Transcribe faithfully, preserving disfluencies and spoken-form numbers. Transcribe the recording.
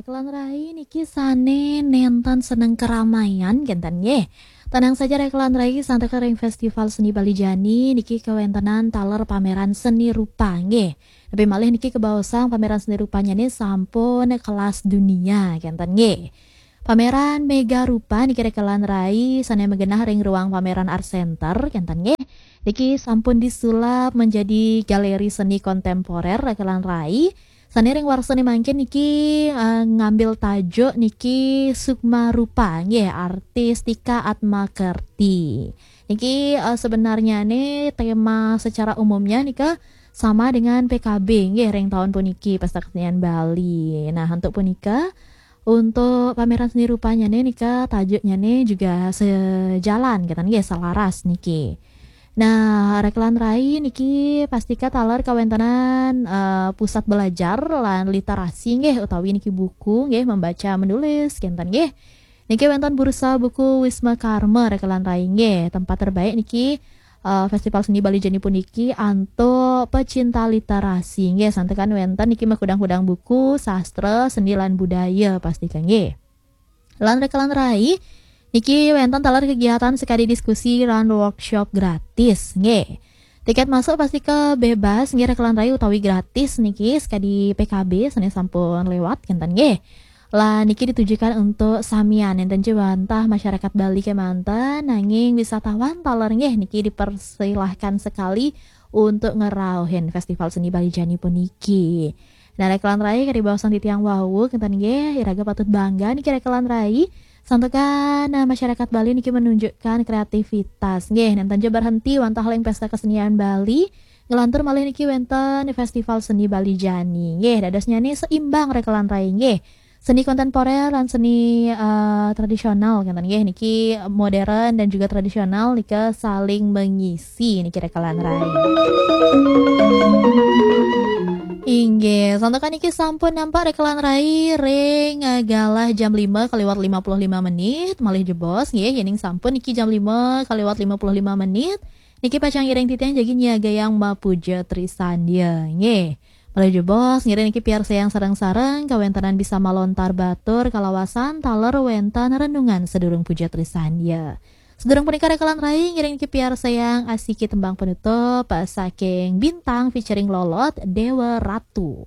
Rekelan rai niki sane nenten seneng keramaian kenten nggih. Tenang saja rekelan rai, santukan ring Festival Seni Bali Jani niki kawentenan taler pameran seni rupa nggih. Tapi malih niki kabaosang pameran seni rupanyane sampun kelas dunia kenten nggih. Pameran Mega Rupa niki rekelan rai sane magenah ring ruang pameran Art Center kenten nggih. Niki sampun disulap menjadi galeri seni kontemporer rekelan rai. Sane ring warsane mangkin niki eh, ngambil tajuk niki Sukma Rupa nggih, artis Tika Atma Kerti. Niki eh, sebenarnya ne tema secara umumnya nika sama dengan P K B nggih ring tahun puniki Pesta Kesenian Bali. Nah, untuk punika untuk pameran seni rupanya ne nika tajuknya ne juga sejalan kenten nggih, selaras niki. Nah, rekelan rai niki pastika taler kawentenan eh, pusat belajar lan literasi nggih utawi niki buku nggih, membaca menulis kenten nggih. Niki wenten bursa buku Wisma Karma rekelan rai nggih. Tempat terbaik niki eh, Festival Seni Bali Jani puniki antuk pecinta literasi nggih, santukan wenten niki makudang-kudang buku sastra, seni lan budaya pastika nggih. Lan rekelan rai niki wenten taler kegiatan sekadi diskusi lan workshop gratis nggih. Tiket masuk pastika bebas nggih rekelan rai utawi gratis niki sekadi P K B sane sampun lewat kenten nggih. Lah niki ditujukan untuk samian, nenten ja wantah masyarakat Bali kemanten, nanging wisatawan taler nggih niki dipersilahkan sekali untuk ngerauhin Festival Seni Bali Jani puniki. Nah, rekelan rai kadi baosan titiang wau kenten nggih, iraga patut bangga niki rekelan rai. Santukan nah, masyarakat Bali niki menunjukkan kreativitas nggih, nenten ja berhenti wantah ring Pesta Kesenian Bali, ngelantur malih niki wenten Festival Seni Bali Jani nggih. Dadosnya ne seimbang rekelan rai nggih. Seni kontemporer lan seni eh, tradisional kenten nggih, niki modern dan juga tradisional nika saling mengisi niki rekelan rai. Inggih, santukan niki sampun nampak rekelan rai ring eh, galah jam lima kaliwat lima puluh lima menit, malih jebos nggih, yening sampun niki jam lima kaliwat lima puluh lima menit. Niki pacang ngiring titiang jagi nyiagayang mapuja Trisandya nggih. Malih jebos ngiring niki piarsayang sareng-sareng kawentenan bisa malontar batur kalawasan taler wenten renungan sedurung puja Trisandya. Sedurung punika rekelan rai ngiring niki piarsayang asiki tembang penutup saking Bintang featuring Lolot, Dewa Ratu.